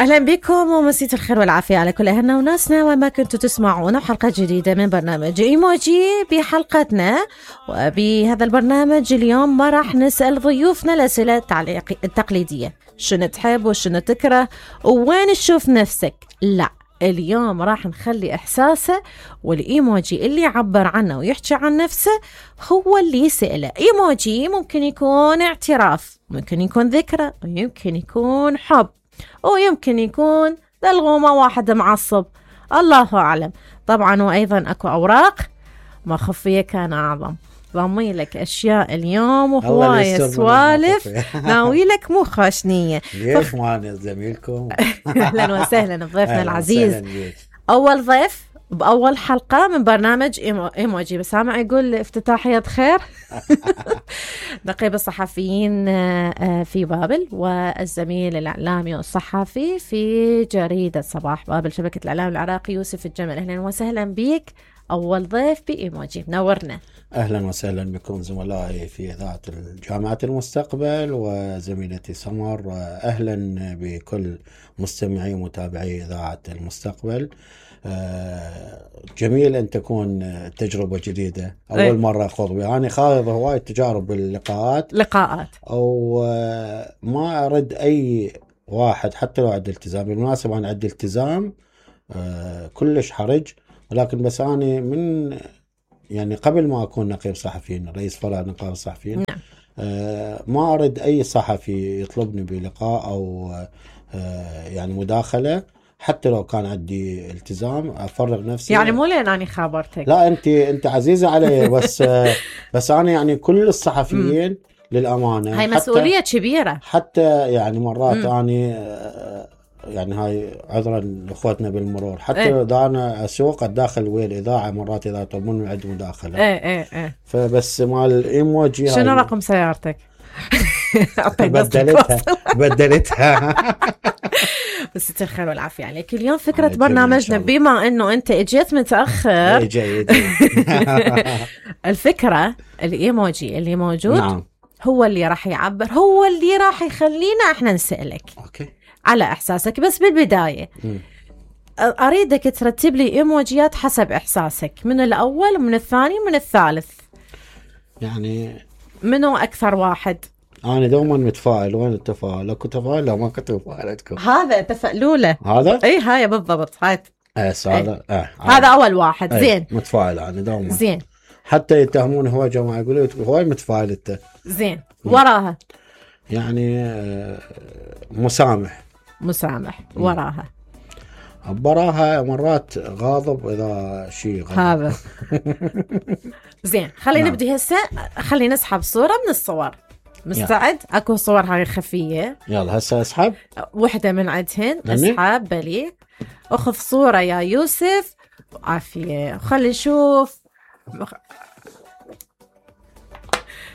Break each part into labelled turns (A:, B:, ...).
A: أهلا بكم ومسيت الخير والعافية على كل أهلنا وناسنا وما كنتوا تسمعونا حلقة جديدة من برنامج إيموجي. بحلقتنا وبهذا البرنامج اليوم ما راح نسأل ضيوفنا الأسئلة التقليدية، شنو تحب وشنو تكره ووين تشوف نفسك. لا، اليوم راح نخلي إحساسه والإيموجي اللي يعبر عنه ويحكي عن نفسه هو اللي يسأله. إيموجي ممكن يكون اعتراف، ممكن يكون ذكرى، ويمكن يكون حب، ويمكن يكون للغومة واحد معصب، الله أعلم. طبعا وأيضا أكو أوراق مخفية كان أعظم. ضمي لك أشياء اليوم وهواية سوالف ناوي لك مو خاشنية.
B: ليش معنا زميلكم؟
A: أهلا وسهلا بضيفنا العزيز، أول ضيف بأول حلقة من برنامج إيموجي. بسامع يقول افتتاحية خير. نقيب الصحفيين في بابل والزميل الإعلامي والصحفي في جريدة صباح بابل شبكة الإعلام العراقي يوسف الجمل. أهلا وسهلا بيك أول ضيف بإيموجي، منورنا.
B: أهلا وسهلا بكم زملائي في إذاعة جامعة المستقبل وزميلتي سمر، وأهلا بكل مستمعي ومتابعي إذاعة المستقبل. جميل أن تكون تجربة جديدة، أول مرة أخوض بها. أنا خاض هواي تجارب باللقاءات أو ما أرد أي واحد حتى لو عندي التزام. بالمناسبة أنا عندي التزام كلش حرج، ولكن بس أنا من يعني قبل ما أكون نقيب صحفيين رئيس فرع نقابة الصحفيين ما أرد أي صحفي يطلبني بلقاء أو يعني مداخلة حتى لو كان عندي التزام أفرغ نفسي.
A: يعني مو لين أنا خابرتك،
B: لا أنت عزيزة علي. بس أنا يعني كل الصحفيين للأمانة
A: هاي مسؤولية كبيرة.
B: حتى يعني مرات أنا يعني هاي عذرا لاخوتنا بالمرور حتى اذا انا اسوق الداخل ويا الاذاعه مرات اذا يطلبون عندي مداخله
A: ايه
B: فبس مال الايموجي.
A: شنو رقم سيارتك؟
B: بدلتها.
A: بس الخير والعافيه عليك. اليوم فكره برنامجنا بما انه انت اجيت متاخر الفكره الايموجي اللي موجود نعم. هو اللي راح يعبر، هو اللي راح يخلينا احنا نسألك
B: اوكي على
A: احساسك. بس بالبدايه اريدك ترتب لي ايموجيات حسب احساسك، من الاول ومن الثاني ومن الثالث.
B: يعني
A: منو اكثر واحد؟
B: انا دوما متفائل. وين التفاؤل؟ اكو تفاؤل؟ لا ما كنت مفائلتكم.
A: هذا تفألوله
B: هذا
A: اي هاي بالضبط. هاي هذا اول واحد. زين
B: متفائل انا دوما.
A: زين
B: حتى يتهمون هو جماعه يقولوا هواي متفائل انت.
A: زين وراها
B: يعني مسامح
A: وراها
B: براها مرات غاضب اذا شيء غاضب.
A: هذا زين. خلينا نبدي هسه. خلينا نسحب صورة من الصور. مستعد؟ اكو صور هاي خفية.
B: يلا هسه اسحب
A: وحدة من عندهن. اسحب بلي. اخذ صورة يا يوسف. عافية. خلي نشوف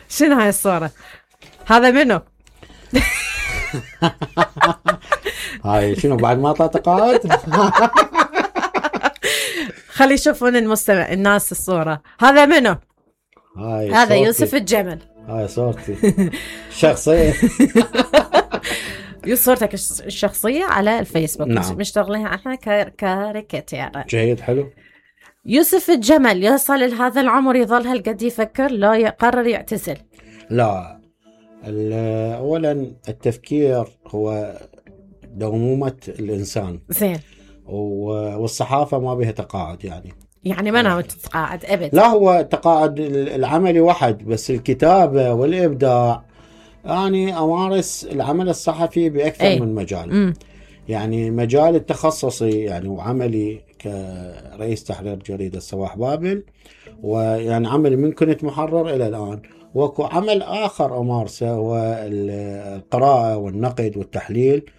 A: شنو هاي الصورة. هذا منو؟
B: هاي شنو بعد ما طلعت قاعد؟
A: خلي يشوفون المستمع الناس الصورة. هذا منو؟ هذا يوسف الجمل.
B: هاي صورتي شخصية.
A: صورتك الشخصية على الفيسبوك.
B: نعم.
A: مشتغلينها احنا كاريكاتير.
B: جيد حلو.
A: يوسف الجمل يصل لهذا العمر يظل هالقد يفكر لا يقرر يعتزل؟
B: لا، اولا التفكير هو دومومة الانسان.
A: زين.
B: والصحافة ما بها تقاعد يعني
A: ما ناوي تتقاعد ابد؟
B: لا، هو تقاعد العملي واحد بس، الكتابة والابداع. يعني امارس العمل الصحفي باكثر من مجال. يعني مجال التخصصي يعني وعملي كرئيس تحرير جريدة صباح بابل، ويعني عملي من كنت محرر الى الان. وكو عمل آخر أمارسه هو القراءة والنقد والتحليل،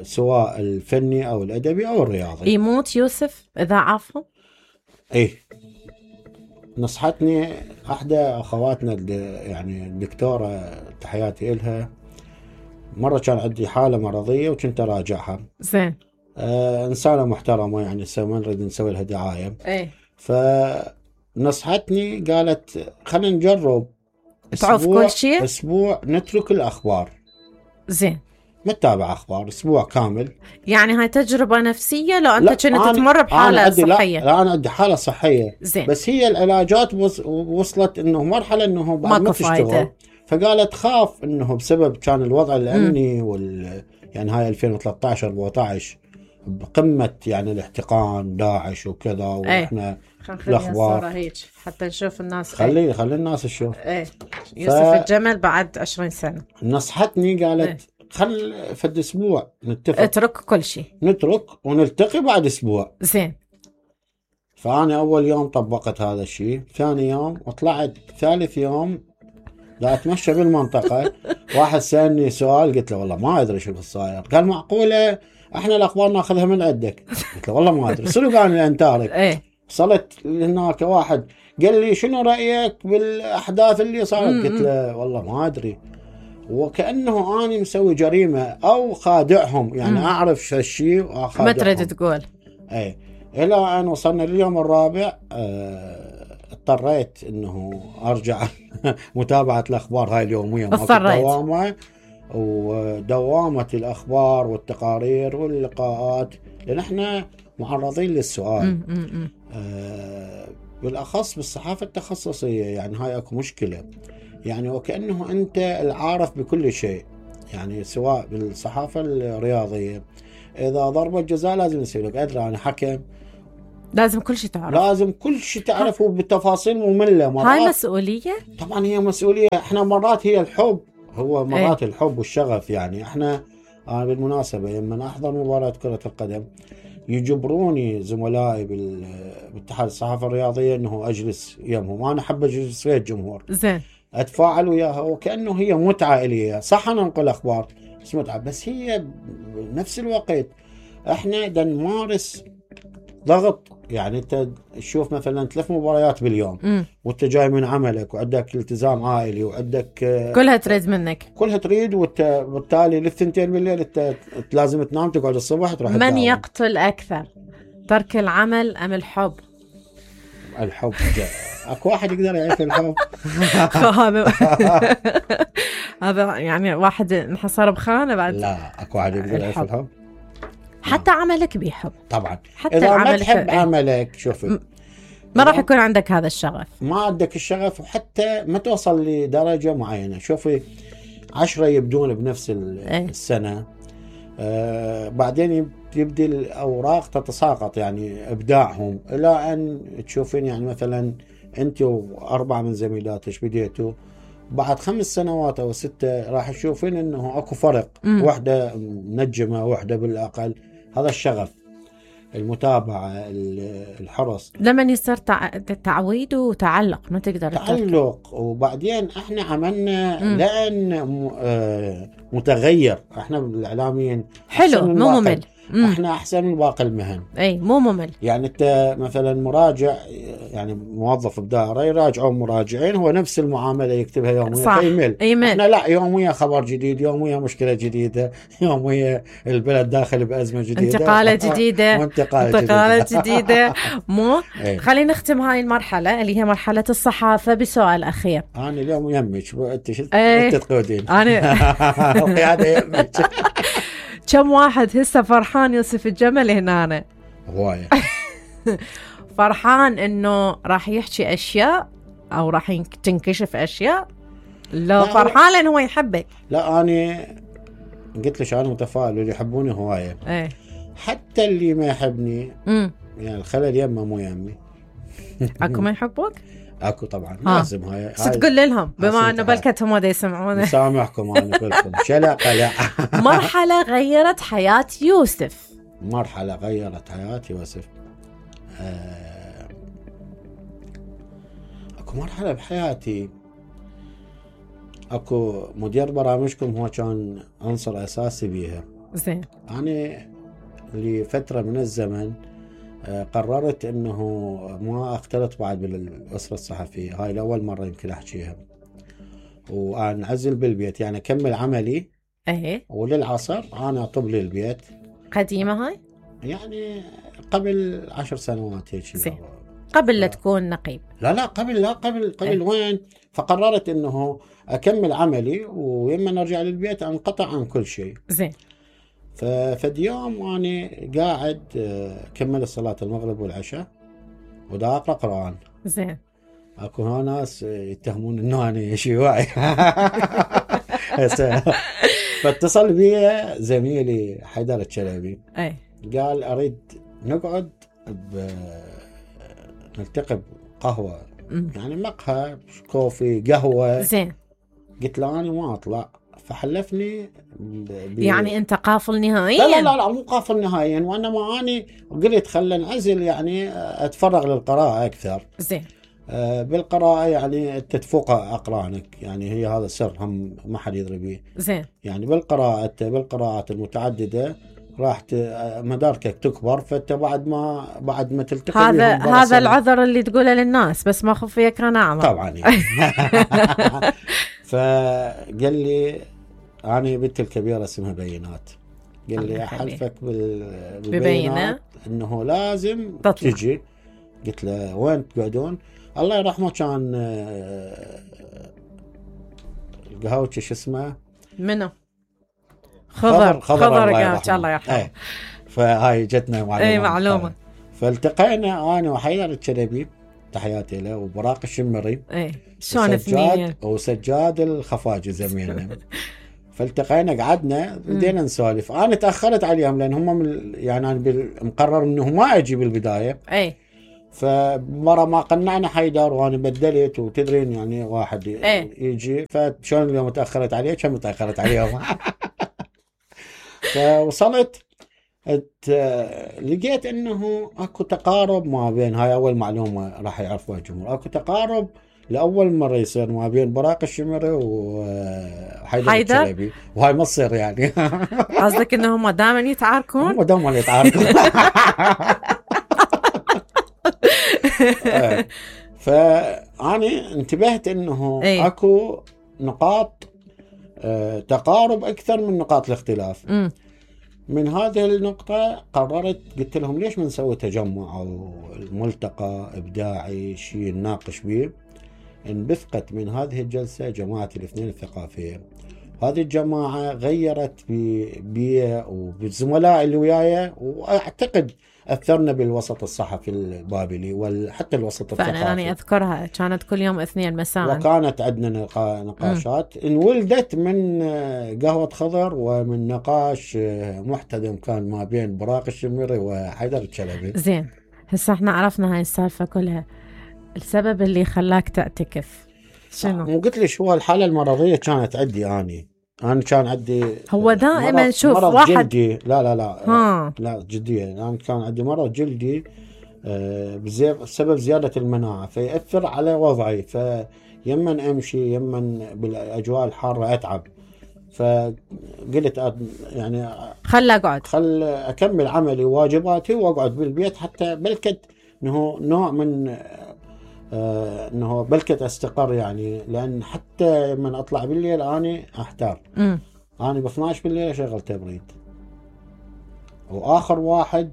B: سواء الفني أو الأدبي أو الرياضي.
A: يموت يوسف إذا عافه؟
B: إيه، نصحتني أحدى أخواتنا يعني الدكتورة، تحياتي إلها، مرة كان عندي حالة مرضية وكنت أراجعها.
A: زين.
B: إنسانة محترمة يعني ما نريد نسوي لها دعاية.
A: إيه.
B: نصحتني قالت خلينا نجرب
A: تعرف كل شيء
B: أسبوع نترك الأخبار.
A: زين.
B: متابع اخبار اسبوع كامل.
A: يعني هاي تجربه نفسيه لو انت كنت تمر بحاله صحيه؟
B: لا انا عندي حاله صحيه
A: زين.
B: بس هي العلاجات وصلت انه مرحله انه بعد ما تشتغل، فقالت خاف انه بسبب كان الوضع الامني يعني هاي 2013 14 بقمه يعني الاحتقان داعش وكذا، واحنا
A: الاخبار هيك حتى نشوف الناس.
B: خلي الناس تشوف.
A: يوسف الجمل بعد 20 سنه
B: نصحتني قالت خل فد اسبوع نتفق،
A: اترك كل شيء،
B: نترك ونلتقي بعد اسبوع.
A: زين.
B: فانا اول يوم طبقت هذا الشيء، ثاني يوم وطلعت، ثالث يوم لا اتمشى بالمنطقه واحد سالني سؤال قلت له والله ما ادري شو صاير. قال معقوله احنا الاخبار ناخذها من عندك؟ قلت له والله ما ادري. صدق انا انتارك. وصلت هناك واحد قال لي شنو رايك بالاحداث اللي صارت؟ قلت له والله ما ادري. وكأنه أنا مسوي جريمة أو خادعهم، يعني أعرف شو الشيء وأخادعهم.
A: ما تريد تقول.
B: إلى أن وصلنا لليوم الرابع اضطريت إنه أرجع متابعة الأخبار هاي اليومية. دوامة ودوامة الأخبار والتقارير واللقاءات، لأن إحنا معرضين للسؤال بالأخص بالصحافة التخصصية. يعني هاي أكو مشكلة، يعني وكأنه أنت العارف بكل شيء. يعني سواء بالصحافة الرياضية إذا ضربة جزاء لازم يصير لك أدري أنا حكم،
A: لازم كل شيء تعرف،
B: لازم كل شيء تعرفه بالتفاصيل مملة. مرات
A: هاي مسؤولية. طبعا
B: هي مسؤولية. احنا مرات هي الحب، هو مرات الحب والشغف. يعني احنا بالمناسبة لما أحضر مباراة كرة القدم يجبروني زملائي بالاتحاد الصحافة الرياضية انه اجلس يمهم. انا احب اجلس ويا الجمهور،
A: زين،
B: اتفاعل وياها وكأنه هي متعة الي. صح انا انقل اخبار بس متعة، بس هي بنفس الوقت احنا دا نمارس ضغط. يعني انت تشوف مثلا 3 مباريات باليوم وانت جاي من عملك وعندك التزام عائلي وعندك
A: كلها تريد منك،
B: كلها تريد، وبالتالي للثنتين بالليل انت لازم تنام تقعد الصبح تروح
A: من الدعوة. يقتل اكثر، ترك العمل ام الحب؟
B: الحب. اكو واحد يقدر يعيش الحب؟
A: هذا يعني واحد انحصر بخانه بعد.
B: لا اكو واحد يقدر يعيش الحب.
A: حتى عملك بيحب
B: طبعا.
A: حتى
B: إذا ما تحب عملك شوفي
A: ما راح يكون عندك هذا الشغف،
B: ما عندك الشغف، وحتى ما توصل لدرجة معينة. شوفي 10 يبدون بنفس السنة بعدين يبدي الأوراق تتساقط، يعني إبداعهم، إلى أن تشوفين يعني مثلا أنت و4 من زميلاتك بديتوا بعد 5 سنوات أو 6 راح تشوفين أنه أكو فرق. واحدة منجمة، واحدة بالأقل. هذا الشغف، المتابعة، الحرص.
A: لما يصير تعويد وتعلق ما تقدر
B: تعلق. وبعدين احنا عملنا لأن متغير. احنا الإعلاميين
A: حلو مو ممل.
B: احنا احسن من باقي المهن.
A: اي مو ممل.
B: يعني انت مثلا مراجع، يعني موظف بدائره يراجعون مراجعين، هو نفس المعامله يكتبها يوميا.
A: صح.
B: ايميل. احنا لا، يوميا خبر جديد، يوميا مشكله جديده، يوميا البلد داخل بازمه جديده،
A: انتقالات جديده، انتقالات جديده. مو خلينا نختم هاي المرحله اللي هي مرحله الصحافه بسؤال اخير.
B: انا اليوم يمك انت شو تقودين؟
A: انا
B: القياده يمك.
A: كم واحد هسه فرحان يوسف الجمل هنا؟
B: هواية.
A: فرحان انه راح يحكي اشياء او راح تنكشف اشياء؟ لا فرحان لانه هو يحبك.
B: لا انا قلت لك انا متفائل، اللي يحبوني هواية. حتى اللي ما يحبني يعني الخلل يمه مو يمي.
A: اكو ما يحبوك؟
B: اكو طبعا. لازم هاي
A: تقول لهم بما انه بلكتهم ما يسمعونه.
B: سامحكم انا بلكم. شلا قلع.
A: مرحله غيرت حياه يوسف.
B: مرحله غيرت حياه يوسف. اكو مرحله بحياتي، اكو مدير برامجكم هو كان عنصر اساسي بيها.
A: زين.
B: يعني لفتره من الزمن قررت انه ما اختلط بعد بالاسره الصحفيه. هاي الاول مره يمكن احكيها، وانعزل بالبيت، يعني اكمل عملي. وللعصر انا اطب لي البيت.
A: قديمه هاي؟
B: يعني قبل 10 سنوات هيك.
A: زين. قبل لا تكون نقيب.
B: لا قبل وين. فقررت انه اكمل عملي ويما ارجع للبيت انقطع عن كل شيء.
A: زين.
B: ففي يوم أنا قاعد كمل صلاة المغرب والعشاء ودا أقرأ قرآن.
A: زين.
B: أكو ناس يتهمون إنه أنا شيوعي. فاتصل بي زميلي حيدر الشلبي.
A: أي.
B: قال أريد نقعد نلتقي بقهوة يعني مقهى كوفي قهوة.
A: زين.
B: قلت له أنا ما أطلع. فحلفني
A: يعني انت قافل نهائيا؟
B: لا مو قافل نهائيا، وانما اني قلت خلنا نعزل يعني اتفرغ للقراءه اكثر.
A: زين.
B: بالقراءه يعني تتفوق اقرانك، يعني هي هذا سر هم ما حد يدري به.
A: زين.
B: يعني بالقراءات المتعدده راح مداركك تكبر، فانت بعد ما تلتقي
A: هذا العذر اللي تقوله للناس، بس ما خفيك انا اعمل
B: طبعا يعني. فقال لي أنا بنتي الكبيرة اسمها بينات، قال لي أحلفك بالبينات إنه لازم تجي. قلت له وين تقعدون؟ الله يرحمه كان القهوتش شو اسمه؟
A: منو؟ خضر الله يرحمه.
B: فهاي جتنا معلومة.
A: اي معلومة.
B: فالتقينا أنا وحيدر الشلبي تحياتي له وبراق الشمري.
A: اي شلون اثنين؟
B: وسجاد الخفاجي زميلنا. فالتقينا قعدنا بدينا نسولف. انا تاخرت عليهم لان هم يعني انا مقرر انه ما اجي بالبدايه.
A: اي.
B: فمره ما قنعنا حيدر وانا بدلت، وتدرين يعني واحد يجي. فشلون اليوم تاخرت عليه كم تاخرت عليهم. فوصلت لقيت انه اكو تقارب ما بين، هاي اول معلومه راح يعرفوها الجمهور، اكو تقارب لاول مره يصير ما بين براق الشمري وحيدر الشلبي، وهاي ما تصير يعني.
A: قصدك انهم دائما يتعاركون؟
B: هم دائما يتعاركون. فاني انتبهت انه اكو نقاط تقارب اكثر من نقاط الاختلاف. من هذه النقطة قررت، قلت لهم ليش ما نسوي تجمع أو ملتقى إبداعي شيء نناقش به. انبثقت من هذه الجلسة جماعة الاثنين الثقافية. هذه الجماعة غيرت بي وبالزملاء اللي وياي، وأعتقد أثرنا بالوسط الصحفي البابلي وحتى الوسط الثقافي.
A: فأنا يعني أذكرها كانت كل يوم اثنين مساء،
B: وكانت عندنا نقاشات انولدت من قهوة خضر ومن نقاش محتدم كان ما بين براق الشمري وحيدر الشلبي.
A: زين. هسه احنا عرفنا هاي السالفة كلها، السبب اللي خلاك تعتكف شنو؟
B: مو قلت لي شو الحالة المرضية كانت عندي أنا كان عندي
A: هو دائما شوف
B: مرض
A: واحد
B: جلدي. لا جدية. أنا كان عندي مرض جلدي بسبب زيادة المناعة، فيأثر على وضعي، فيمن أمشي يمن بالأجواء الحارة أتعب. فقلت يعني
A: خل
B: أكمل عملي وواجباتي وأقعد بالبيت، حتى بلكت إنه نوع من انه بلكت استقر يعني. لان حتى من اطلع بالليل اني احتار. انا ب 12 بالليل اشغل تبريد، واخر واحد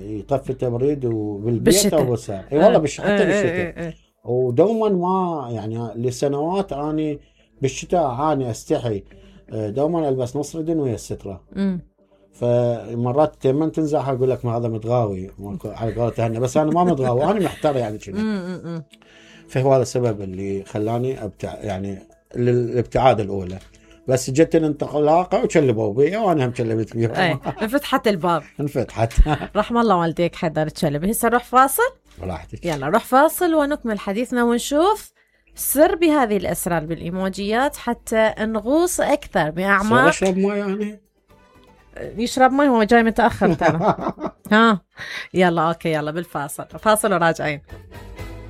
B: يطفي التبريد وبالبيت او بالساعه. اي والله حتى بالشتاء. ودوما ما يعني لسنوات اني بالشتاء اعاني استحي دوما البس نص ردن ويا الستره. فمرات من تنزح اقول لك ما هذا متغاوي على قولته هنا، بس انا ما متغاوي، انا محتار يعني كذا. فهو هذا السبب اللي خلاني يعني الابتعاد الاولى. بس جت الانطلاقه وشلبوا بي وانا هم شلبت بيهم.
A: انفتحت الباب.
B: انفتحت.
A: رحم الله والديك حيدر الشلبي. هسه نروح فاصل.
B: براحتك.
A: يلا نروح فاصل ونكمل حديثنا ونشوف سر بهذه الاسرار بالايموجيات حتى نغوص اكثر باعماق.
B: اشرب ماء يعني؟
A: يشرب ماء، هو جاي متاخر ترى. يلا اوكي، يلا بالفاصل، فاصل وراجعين.